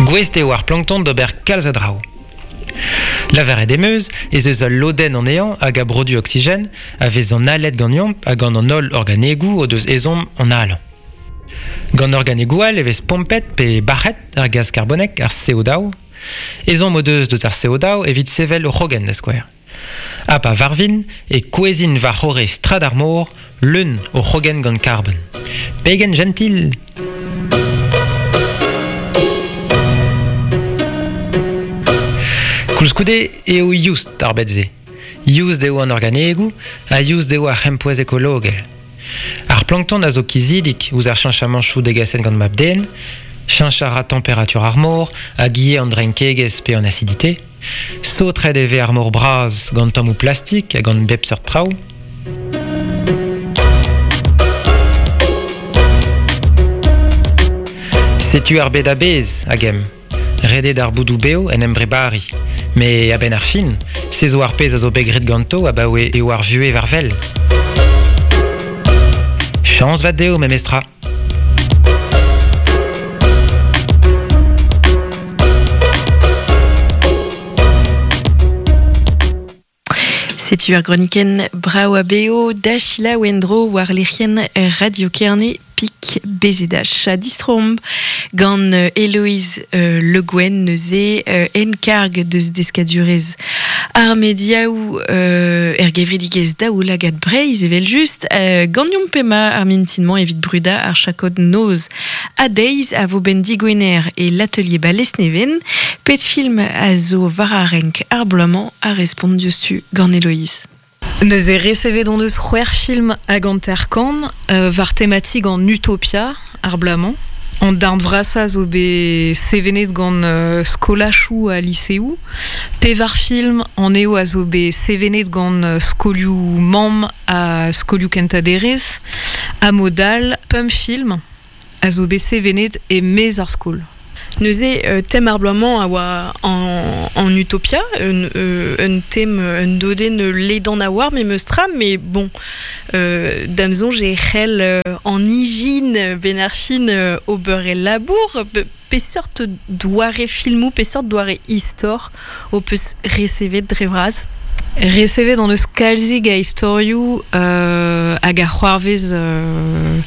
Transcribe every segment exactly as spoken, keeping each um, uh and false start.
Gouest eo ar plankton d'ober kalz a draoù. Lavaret em eus ez eus ul lodenn anezhañ hag a brodu oksigen a vez analet ganeomp hag gant an holl organegoù o deus ezhomm analañ. Gant organegoù all e vez pompet pe bac'het ar gaz karbonek, ar C O daou. Ezhomm o deus deus ar C O daou evit sevel o c'hrogenn da skouer. Ha pa varvin e kouezin war c'horre strad ar mor, leun o c'hrogenn gant karbon. Pegen gentil! Koulskoude eo youst ar bet-se. Youst eo an organegoù ha youst eo ar c'hempouez ekologel. Ar plankton a zo kizidik ouzh ar cheñchamanchoù degaset gant mab-den, cheñch a ra temperatur ar mor hag ivez an drenkegezh pe an acidité. Saotret e vez ar mor bras gant tammoù plastik hag gant bep seurt traoù. Setu ar bed a-bezh hag em. Redet ar boudoù beo en em brebari. Me a-benn ar fin, se zo ar pezh a zo bet graet ganto abaoe eo ar vuhez war wel. Chañs vat dezho memestra. Setu ar groniken brao a beo da Sheila Wendro war lec'hienn Radio Kerne pik bezedach. A distromp gant Héloïse euh, Le Guen neuze euh, enkarg deus deskadurez ar mediaou euh, er gevredigez daou lagad Breizh evel just euh, gant yomp pema ar mintinman evit bruda ar chakod noz a deiz a vo ben digwener e l'atelier ba Lesneven pet film a zo war ar renk ar bloamañ a respont diouzhtu gant Héloïse. Neuze resevet hon eus c'hwec'h film hag hanter kant euh, war tematik an Utopia ar bloamañ. An darn vrasañ zo bet sevenet gant euh, skolachoù ha liseoù. Pevar film an eo a zo bet sevenet gant euh, skolioù mamm ha skolioù kentañ-derez. Ha modal, pemp film a zo bet sevenet e maez ar skol. Neuze euh, tem ar bloamañ a oa en, en Utopia, un, euh, un tem un dodenn ledan a war, me meus tra, mais bon, euh, damzon j'ai c'hell euh, en ijin ben ar fin euh, ober e labour, pe, pe seurt doare filmou, pe seurt doare istor o peus resevet dre vras. Resevet on eus kalzig a istorioù euh, hag ar c'hoarvez euh,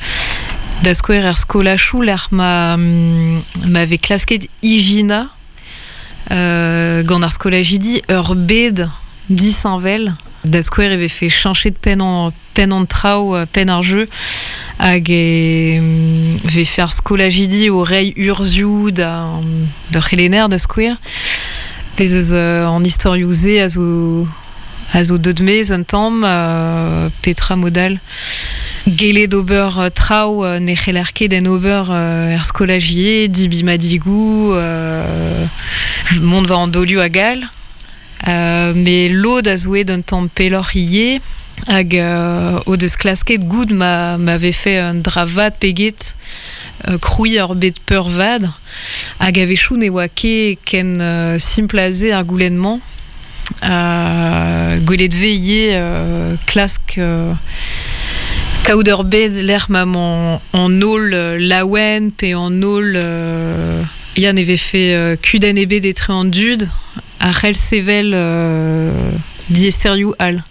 da skouer er skolachoù lec'h ma, ma vez klasket ijina euh, gant ar skolajidi ur bed disheñvel. Da skouer e vefe cheñchet penn an, penn an traoù, penn ar jeu hag e vefe ar skolajidi o reiñ urzhioù da, da c'helener da skouer. Bez eus euh, an istorioù se a zo, a zo deut maez un tamm, euh, petra modal. Gellet d'ober euh, traoù euh, ne c'heller ket en ober euh, er skolajier, dibi madigou, euh, mont war an dolioù hag all. Euh, me lod a zoe d'un tamm pelloc'h ivez hag euh, o deus klasket goud ma, ma vefe un dra vat peget euh, krouiñ ur bet peurvad hag a-wechoù ne oa ket ken euh, simpl a se ar goulenn-mañ. Euh, gwelet vez ivez euh, klask euh, kaout ur bed lec'h ma mañ an holl laouen pe an holl euh, ya ne vefe euh, kudenn ebet etre an dud a c'hell sevel euh, diaesterioù all.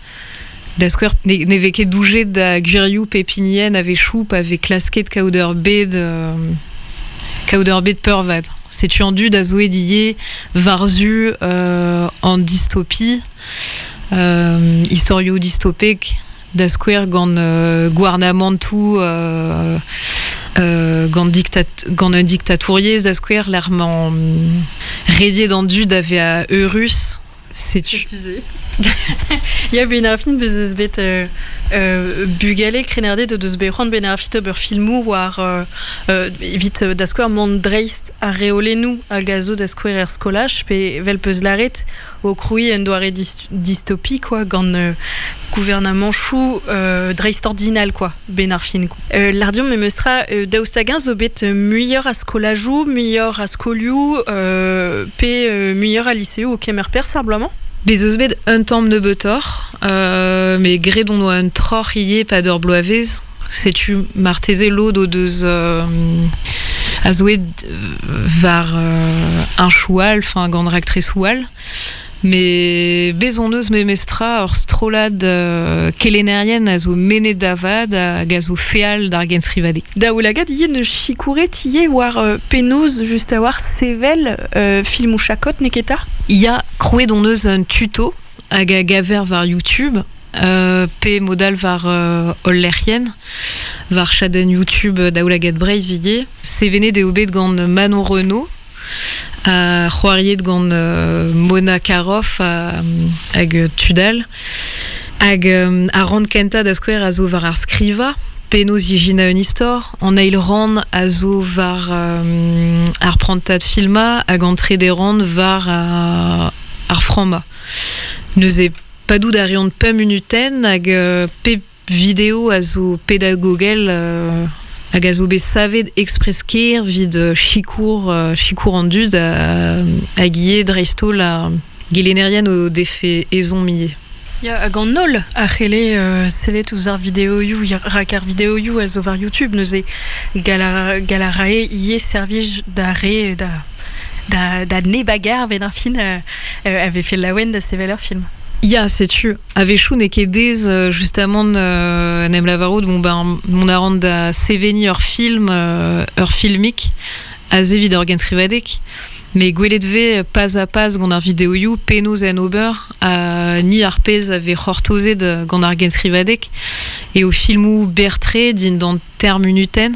Da skouer ne, ne vez ket doujet da gwirioù pe pinien a-wechoù pa vez klasket kaout ur bed euh, kaout ur bed peurvad. Setu an dud a zoe ivez war-zu euh, an dystopie, euh, istorioù dystopek, da skouer gant euh, gouarnamantoù euh, euh, gant diktat, gant un diktatouriezh da skouer lec'h mañ rediet an dud a vez eurus. Setu. Setu. Ya ben ar fin bez eus bet euh, euh, bugale krenerdet deus bet c'hoant ben ar fit ober filmoù war euh, euh, evit da skouer mont dreist ar reolennoù hag a zo da skouer er skolaj pe vel peus laret o krouiñ un doare dist dystopie quoi gant euh, gouvernamanchoù euh, dreist ordinal quoi ben ar fin. Euh, Lardion me meustra euh, daoust hag-eñ zo bet muioc'h a skolajoù, muioc'h a skolioù euh, pe euh, muioc'h a liseoù o kemer perzh ar bloaz-mañ? Bez eus bet un tamm nebeutoc'h, euh, mais graet on oa un troc'h ivez pa d'ur bloavezh. Setu marteze lod o deus euh, a zo ed var euh, un choual, enfin gant raktres oual. Me bez on eus me mestra ur strolad euh, kelennerien a zo menet davad hag a zo feal d'ar gensrivade. Da oulagad ivez ne chikouret ivez war euh, penaos just a war sevel euh, film ou chakot neketa? Ya krouet on eus un tuto hag a gaver war YouTube, euh, pe modal war euh, ol lec'hien, war chadenn YouTube daoulagad Breizh ivez. Sevenet eo bet gant Manon Renaud, a c'hoariet gant euh, Mona Karoff a, hag Tudal. Hag euh, a ran kenta da skouer a zo war ar skriva, penaos ijina un istor, an eil ran a zo war euh, ar prantad filma hag an trede ran war a, ar framma. Neuze padout a reont pemp minuten hag euh, pep video a zo pedagogel euh, hag a zo bet savet express ker vid chikour, euh, chikour an dud a, hag ivez dreist-holl a gelennerien o defe ezhomm ivez. Ya, hag an holl a c'helle euh, sellet ouzh ar videoioù, rak ar videoioù a zo war YouTube neuze gala, galarae ivez servij da re da, da, da nebagar ben ar fin euh, euh, avait fait laouen da sevel ur film. Ya, setu, a-wechoù n'eo ket dez justement euh, en em lavarout, bon ben, mon a ran da seveniñ ur film, euh, ur filmik, aze evit ur genskrivadeg, mais gwelet vez pas a pas gant ar videoioù penaos en ober, ha ni ar pezh a vez c'hortozet gant ar genskrivadeg, e o filmoù berr-tre dindan ter minuten,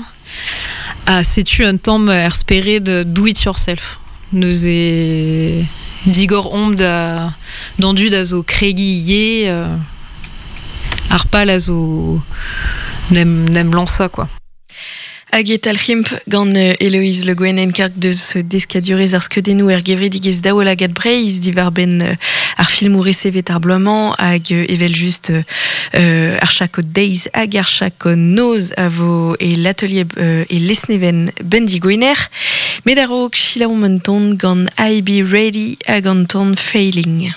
ha setu un tamm er spered do it yourself. Neuze digor omp da d'an dud a zo kregiñ ivez, euh, ar pal a zo n'em, n'em lansa, quoi. Hag e talc'himp gant Héloïse Le Guen enkarg deus deskadurez ar skeudennoù er gevredigezh Daoulagad Breizh diwar benn ar filmoù resevet ar bloaz-mañ hag evel just euh, ar chakod deiz hag ar chakod noz a vo e l'atelier euh, e Lesneven bendigoiner. Met a-raok selaouomp un ton gant I Be Ready hag an ton Failing.